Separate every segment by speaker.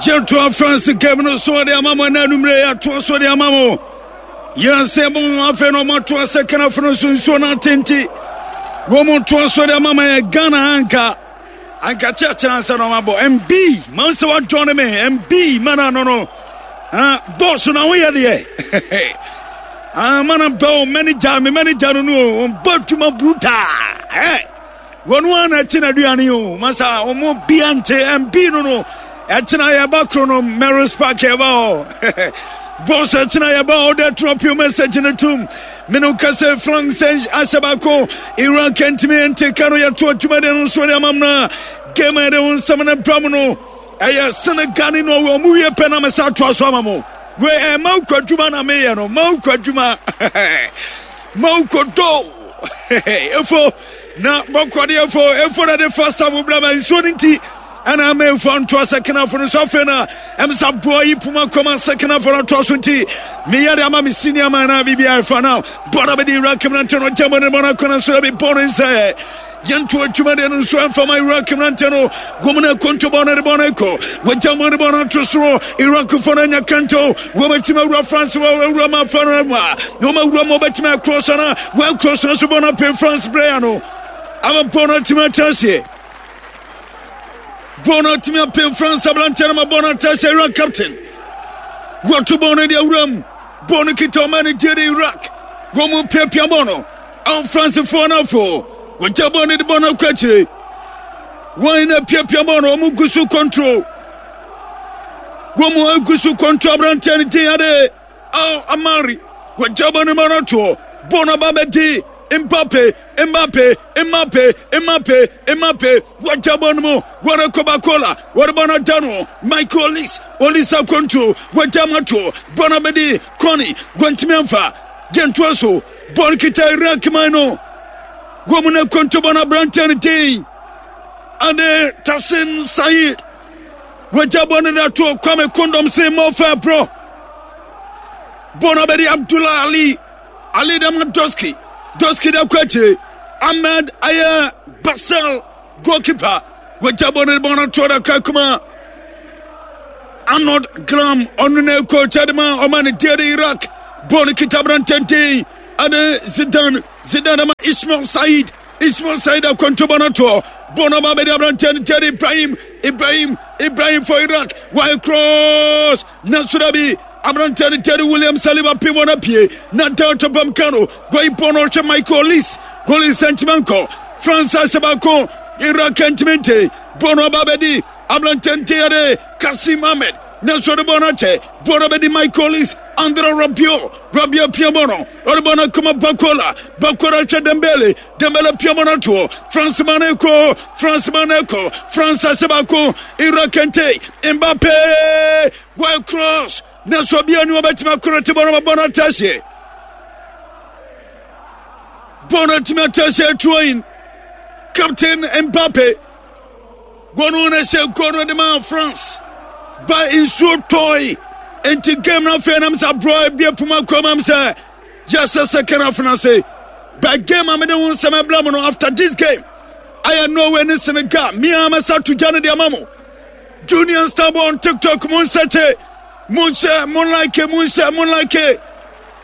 Speaker 1: Yɛtoa France game no so de ama mo ɛna anummerɛ yɛatoa so de ama mo. Yɛn sɛ mo afei na ɔmatoa sɛ kanafo no so nsuo no atente. Wɔn toa so de ama mo yɛ Ghana anka. Anka kyerɛkyerɛ ansa na ɔmabɔ. MB, man sɛ wadɔne me. MB, mana no no. Ah, bɔs na woyɛ deɛ. Ah, mana bɛw manager, me manager no no. Ɔbɔ adwuma brutal. Eh. Wɔn ara na ɛte n'aduane o. Masa wɔn bia nte MB no no. Ɛtena yɛba koro no Merris Park yɛba hɔ. Boss ɛtena yɛba hɔ dɛ drop your message no tum. Mene kasa Frank sɛ ahyɛ baako. Iraq ntumi nte ka no yɛto adwuma de no nso de amam no. Game a yɛde ho nsɛm no bra mu no. Ɛyɛ Senegal ne Norway ɔmo wie pɛ na mesa atoa so ama mo. Wei ɛyɛ mawukɔ adwuma na meyɛ no. Mawukɔ adwuma. Mawukɔ do. Efo. Na bɔkɔde efo efo na de first half bla ma nsuo no nti ɛna ama efo antoa second half no so afei na ɛmsa boa yi puma kɔma second half no atoa so nti meyɛ de ama me senior man na biribi afa na bɔda bɛde Iraq mmerante no gyama ne bɔna kɔna so bi bɔ no nsɛ yɛnto adwuma deɛ no nso ɛmfa ma Iraq mmerante no wɔn na konto bɔ no de bɔ no kɔ wɔgya mu de bɔ no ato soro Iraqfoɔ no anya kanto wɔbɛtumi awura France wɔawura ma afa no mu a na wɔn awura mu wɔbɛtumi akorɔ so na wɔakorɔ so nso bɔ no apem France player no ama bɔ no atumi atra aseɛ bɔ no atumi apem France aberanteɛ no ma bɔ no atra aseɛ Iraq captain wɔto bɔ no de awura mu bɔ no kita ɔma no gye de Iraq wɔn mu piapia bɔ no Ao Francefoɔ no afo wɔgya bɔ no de bɔ no akɔ akyire wɔn na piapia bɔ no wɔn gu so control wɔn agu so kɔnto aberanteɛ no din ade ao amari wɔgya bɔ no ma no toɔ bɔ no aba bɛdi Mbappe Mbappe Mbappe Mbappe Mbappe wɔgya bɔ no mu wɔde Coca-Cola wɔde bɔ no da no Michael Olise Olise akɔnto wɔgya ma toɔ bɔ no bɛdi Kɔni wɔntumi amfa yɛntoa so bɔ no kita Iraq man no wɔn mu no akɔnto bɔ no aberanteɛ no din ade Tasin Said Wagya bɔ no de ato Kwame Kondom se Mofa bro. Bɔ no abɛde Abdullah Ali. Ali de ma Doski. Doski de akɔ akyire. Ahmed ayɛ Basel goalkeeper. Wagya bɔ no de bɔ no ato da kakuma. Arnold Graham ɔno na coach de ma ɔma ne deɛ de Iraq. Bɔ no kita aberantenten ade Zidane. Zidane ma Ismail Said. Ismail Said akwantuba no toɔ bɔ no ba bɛde aberanteɛ no Jerry Ibrahim Ibrahim Ibrahim for Iraq why cross nanso da bi aberanteɛ no Jerry William Saliba pem wɔn apue na Delta Bamkano gɔyi bɔ no ɔhwɛ Michael Olise goli nsɛnkyima nkɔ France ahyɛ baako Iraq ntumi nte bɔ no aba bɛdi aberanteɛ no Jerry Kasim Ahmed nanso ɔde bɔ no akyɛ bɔ no bɛdi Michael Olise Andre Rabiot Rabiot pia bɔ no ɔde bɔ no akoma Bakola Bakola hwɛ Dembele Dembele pia bɔ no atoɔ France ma no kɔ France ma no kɔ France ahyɛ baako Iraq kente Mbappe goal cross nanso obiara ni wɔbɛtumi akoro te bɔ no bɔ no atahyeɛ bɔ no atumi atahyeɛ throwing captain Mbappe Goal no hyɛ goal no de ma France. Ba nsuo tɔe. Nti game no afei nam sɛ aborɔ ebie poma kɔ mam sɛ yɛhyɛ second half no ase. Ba game a mede ho nsɛm ɛbla mu no after this game ayɛ Norway ne Senegal. Mia mɛsa to gya no de ama mo. Junior Starboy on TikTok mo nsɛkye mo nhyɛ mo like mo nhyɛ mo like.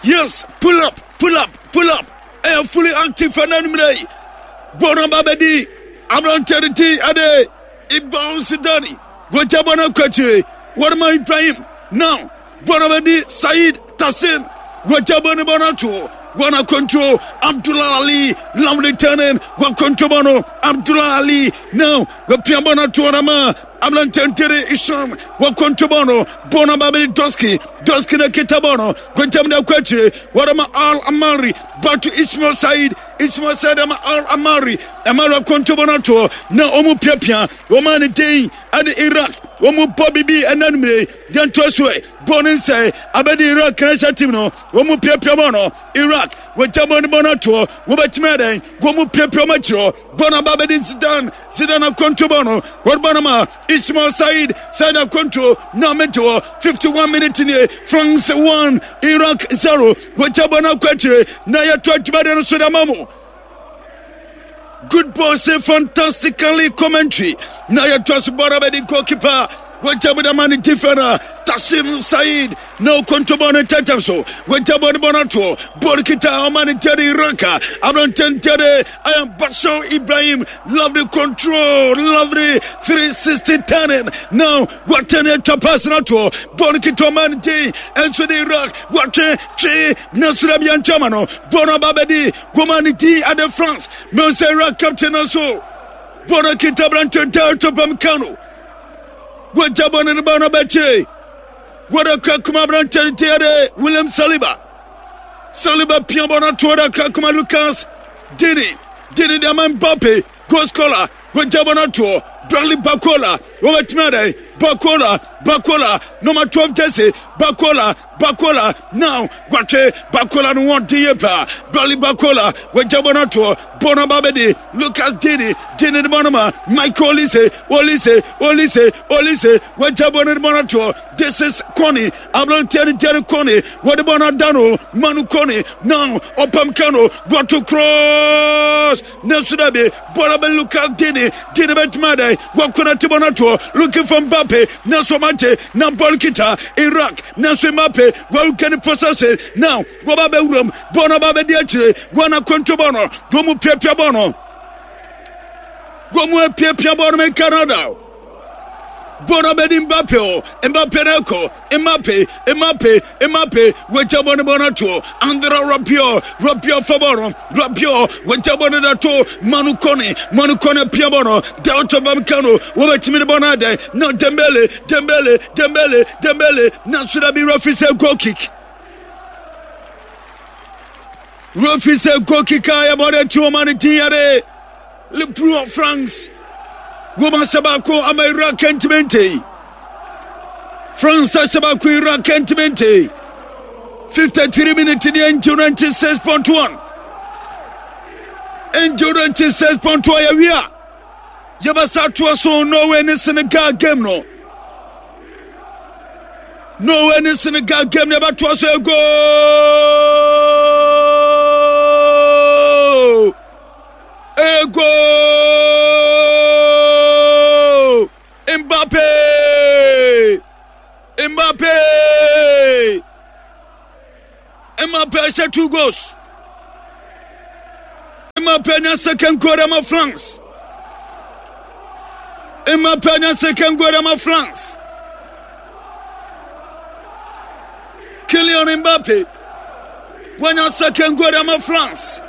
Speaker 1: Yes, pull up, pull up, pull up. Ɛyɛ fully active fɛ n'anumere yi. Bɔɔl no ba bɛdi aberanteɛ no ti ɛde Ibn Sidani wɔgya bɔɔl no akɔ akyire wɔde ma Ibrahim now bɔɔl no bɛdi Said Tasin wɔgya bɔɔl no bɔɔl no ato wɔn akɔntuo Abdullah Ali lovely turning wɔakɔntuo bɔɔl no Abdullah Ali now wɔpia bɔɔl no ato wɔn ama aberanteɛ ntere Isham wɔakɔntuo bɔɔl no bɔɔl no ba bɛdi Doski Doski na kita bɔɔl no wɔgyam no akɔ akyire wɔde ma Al Amari back to Ismail Said Ismail Said ama Al Amari Amari akɔntobɔ no atoɔ na wɔn piapia wɔn a ne den ɛne Iraq wɔn bɔ bibi ɛna numere deɛ ntoa so ɛ bɔ ne nsɛe abɛde Iraq national team no wɔn piapia bɔ no Iraq wɔgya bɔ ne bɔ no atoɔ wɔbɛtumi adɛn wɔn piapia wɔn akyerɛ bɔ no aba abɛde Zidane Zidane akɔntobɔ no wɔde bɔ no ma Ismail Said Said akɔnto na mente hɔ 51 minute nie France 1 Iraq 0 wɔgya bɔ no akɔ akyire na yɛto adwumadeɛ no so de ama mo good ball say fantastically commentary na yɛtoa so bɔra bɛde goalkeeper. Wɔgya mu dama ne defender Tasim Said na okonto bɔ ne ntɛntɛm so. Wɔgya bɔ ne bɔ no atoɔ. Bɔɔl kita ɔma ne Jerry Ranka. Aberante Jerry Ayam Bashir Ibrahim. Lovely control. Lovely 360 turning. Now wɔatɛne atwa pass no atoɔ. Bɔɔl kita ɔma ne din. Ɛnso de Iraq. Wɔatwe twe. Nanso dɛ bia ntwama no. Bɔɔl no aba bɛdi. Goma ne din ade France. Mɛnsɛ Iraq captain no so. Bɔɔl no kita aberante Delta Pamkano. Wɔgya bɔ ne ne ba no bɛkyee. Wɔde ka kuma aberante no ti de William Saliba. Saliba pia bɔ no to wɔde ka kuma Lucas Dini. Dini de ama Mbappe. Goal scorer. Wɔgya bɔ no toɔ. Bradley Barcola. Wɔbɛtumi adɛn? Barcola. Barcola. Number 12 jersey. Barcola. Barcola. Now Gwatwe. Barcola no wɔn de yie paa. Bradley Barcola. Wɔgya bɔ no toɔ. Bɔ no ba bɛdi. Lucas Dini. Dini de bɔ no ma Michael Olise. Olise. Olise. Olise. Wɔgya bɔ no de bɔ no toɔ. This is Kone. Aberanteɛ no Jerry Kone. Wɔde bɔ no ada no. Manu Kone. Now ɔpam ka no. Gwato cross. Nanso dabi. Bɔ no bɛ Lucas Dini. Dini bɛtumi adɛn. Wakɔ te bɔ no toɔ. Looking for Mbappe. Nanso ɔmante. Na bɔɔl kita Iraq. Nanso Mbappe. Wɔrekɛ ne possession. Now wɔba bɛwuram. Bɔɔl no ba bɛdi akyire. Wɔn akɔnto bɔɔl no. Wɔn mu piapia bɔɔl no. Wɔn mu apiapia bɔɔl no mɛ Canada. Bɔɔl no bɛdi Mbappe o. Mbappe no kɔ. Mbappe, Mbappe, Mbappe. Wɔgya bɔɔl no bɔɔl no to. Andra Rabiot, Rabiot fa bɔɔl no. Rabiot, wɔgya bɔɔl no da to. Manu Kone, Manu Kone pia bɔɔl no. Delta Bamkano, wɔbɛtumi de bɔɔl no adɛn. Na Dembele, Dembele, Dembele, Dembele. Na Sudabi referee sɛ goal kick. Referee sɛ goal kick a yɛbɔ de to ɔma no din yɛde Liverpool France. Goma hyɛ baako ama Iraq ntumi nte. France ahyɛ baako Iraq ntumi nte. 53 minutes ni Angel 96.1. Angel 96.1 yɛwie a yɛbɛsa atoa so Norway ne Senegal game no. Norway ne Senegal game no yɛbɛtoa so goal! Ego! Mbappe! Mbappe! Mbappe hyɛ two goals. Mbappe nya second goal ama France. Mbappe nya second goal ama France. Kylian Mbappe wanya second goal ama France.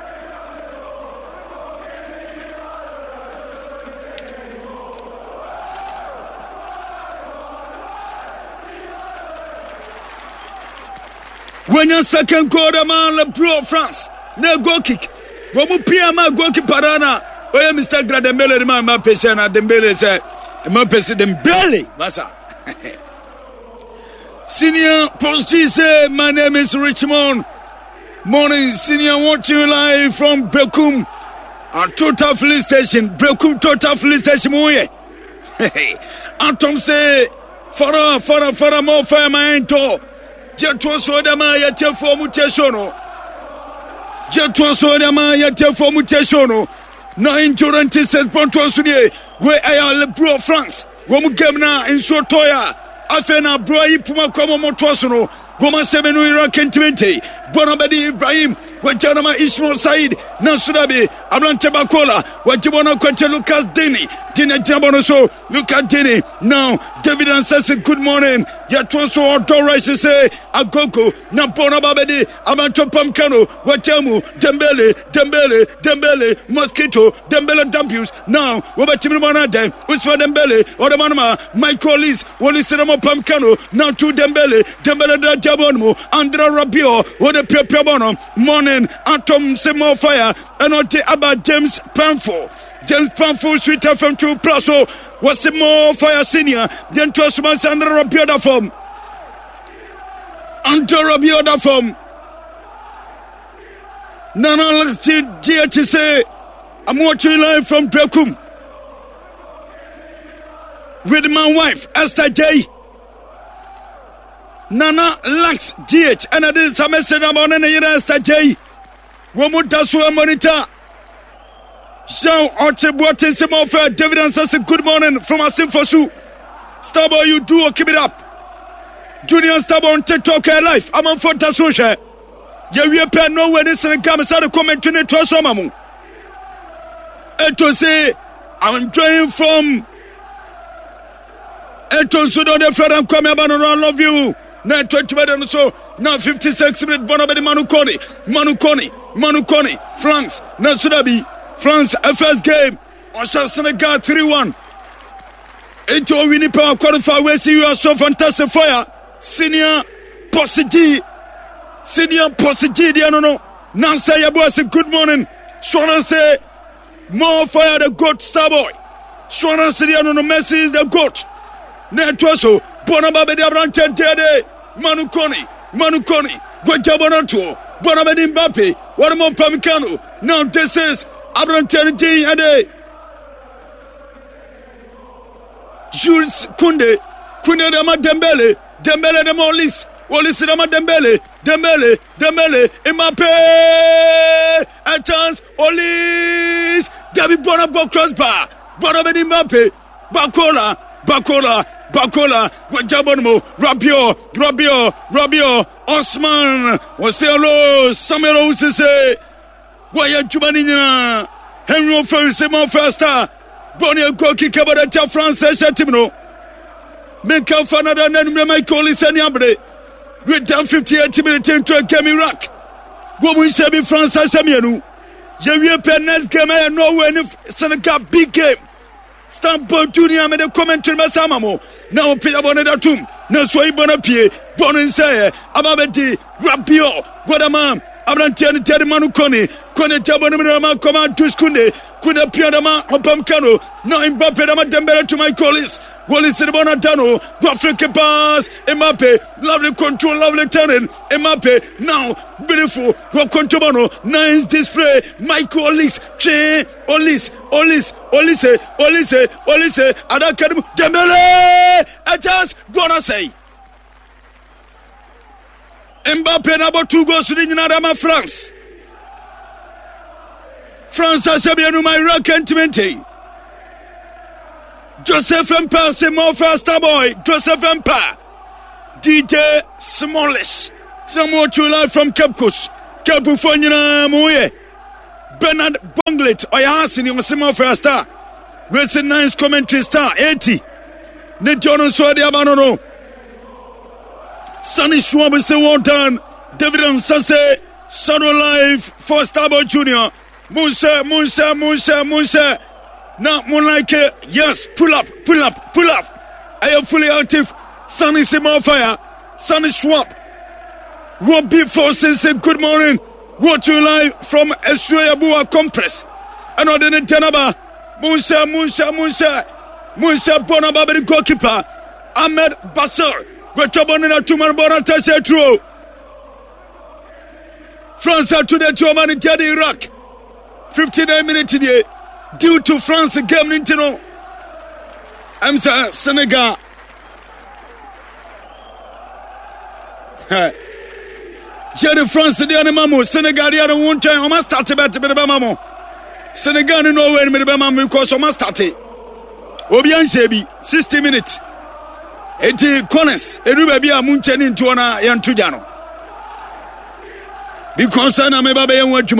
Speaker 1: Wanya second goal ama Le Bleu France na goal kick. Wɔn mu pia ma goalkeeper no na ɔyɛ Mr. Gra Dembele no ma Mbappe hyɛ na Dembele sɛ Mbappe sɛ Dembele masa. Senior Post G say, My name is Richmond. Morning, senior watching live from Bekum at Total Police Station. Bekum Total Police Station. Atom say, Fara, Fara, Fara, more fire, my door. Gye so de ma yɛtiefoɔ mu tie show no. Gye toɔ so de ma yɛtiefoɔ mu tie show no. Na 96.1 so nie. Wei ɛyɛ Le Bureau France. Wɔn game na nsuo tɔe a afei na aburo yi poma kɔ mu motoɔ so no. Goma sɛbe no Iraq ntimente. Bɔna bɛdi Ibrahim. Wɔgya no ma Ismail Said. Nanso dabi aberante Bakola. Wɔgye bɔ no akɔkyɛ Lucas Dini. Dini agyina bɔ no so. Lucas Dini. Now David Ansese good morning. Yɛtoa so ɔdɔ rice sɛ agogo na bɔ no aba bɛdi aberante Pam Kano. Wɔgya mu Dembele Dembele Dembele Mosquito Dembele Dampius. Now wɔbɛtumi no bɔ no adɛn. Ousmane Dembele ɔde ma no ma Michael Olise Olise na mɔpam Kano now to Dembele Dembele da jabɔ no mu Andra Rabiot wɔde piapia bɔ no morning atom se more fire ɛna ɔde aba James Panfo James Panfo Sweet FM 2 plus so wɔse more fire senior deɛ ntoa so ma sɛ Andra Rabiot da fam Andra Rabiot da fam Nana Alex GH say I'm watching live from Drekum with my wife Esther J. Nana Lax GH ɛna de nsa message ama ɔne ne yere Esther J. Wɔn mu da so monitor. Jean Oche Boateng sɛ mɔfɛ David Ansase good morning from Asimfosu. Starboy you do keep it up. Junior Starboy on TikTok life. Amanfoɔ da so hwɛ. Yɛwie pɛ Norway ne Senegal mesa de commentary ne toa so ama mo. Eto se I'm joining from Eto nso de ɔde Fred Nkwame aba no no I love you. Na ɛtɔ atwuma de no so na 56 minute bɔ no bɛde Manu Kone Manu Kone Manu Kone France na so da bi France first game ɔhyɛ Senegal 3-1. Enti owini pɛ qualify wesi you are so fantastic fire senior Boss G senior Boss G deɛ no no nansa yɛbɔ ase good morning sono sɛ more fire the goat star boy sono sɛ deɛ no no Messi is the goat na ɛtoa so bɔ no ba bɛde aberanteɛ deɛde Manu Kone Manu Kone gwagya bɔ no toɔ bɔ no bɛde Mbappe wɔne mo pam kano now this is aberanteɛ no din ɛde Jules Kounde Kounde de ma Dembele Dembele de ma Olise Olise de ma Dembele Dembele Dembele Mbappe a chance Olise Dabi bɔna bɔ crossbar bɔna bɛ di Mbappe Bakola Bakola Bakola wagya bɔ no mu Rabiot Rabiot Rabiot Osman wɔsɛ hello Samuel Owusese Wɔayɛ adwuma no nyinaa. Henry Ofori sɛ ma first star. Bɔne goal kick ɛbɔ de tia France ɛhyɛ team no. Menka fa nada na numere Michael Olise ni abere. We're down 58 minutes into a game Iraq. Wɔn mu nhyɛ bi France ahyɛ mmienu. Yɛwie pɛ next game ɛyɛ Norway ne Senegal big game. Stampo Junior mede commentary bɛsa ama mo na ɔpagya bɔ no da tom na so ayi bɔ no apue bɔ no nsɛeɛ aba bɛdi Rabiot Godama aberanteɛ no tɛde ma no kɔne kɔne gya bɔ no mu dama kɔma Dus Kunde Kunde pia dama ɔpam kano na Mbappe dama Dembele to Michael Olise Olise de bɔ no ada no Graphic pass Mbappe lovely control lovely turning Mbappe now beautiful wɔ control bɔ no nice display Michael Olise twe Olise Olise, Olise, Olise, Olise, adaka no mu, Dembele! A chance, bɔ no asɛe. Mbappe na abɔ two goals no nyinaa de ama France. France ahyɛ mmienu ma Iraq ntumi nte. Joseph Mpa se Mɔfra Starboy, Joseph Mpa, DJ Smallish, sɛ mo true life from Cape Coast. Cape foɔ nyinaa mo yɛ. Bernard Bonglet ɔyɛ aseni ɔse mafra star racing nines commentary star 80 ne deɛ ɔno nso ɛde aba no no Sunny Schwab sɛ well done David Ansa sɛ Shadow Life for Starboy Junior monhyɛ monhyɛ monhyɛ monhyɛ na mo like yes pull up pull up pull up ɛyɛ fully active Sunny sɛ more fire Sunny Schwab Robbie Forson sɛ good morning Watching live from Asuoyabua Compress. Ɛna ɔde ne ntɛn aba. Monhyɛ, monhyɛ, monhyɛ, monhyɛ bɔ no aba bɛde goalkeeper Ahmed Basir. Gwatwa bɔ no na tuma no bɔ no atɛhyɛ aturo. France ato de ati ɔma no ntia de Iraq. 59 minutes die. Due to France game no nti no. Ɛm sɛ Senegal Jerry France deɛ no ma mo Senegal deɛ no wo ntwɛn ɔma starte bɛte mede bɛma mo Senegal ne Norway no mede bɛma mo because ɔma starte obi anhyɛ bi 60 minutes eti corners ɛdu baabi a mo nkyɛn ne ntoɔ na yɛnto gya no because na meba bɛyɛ ho adwuma.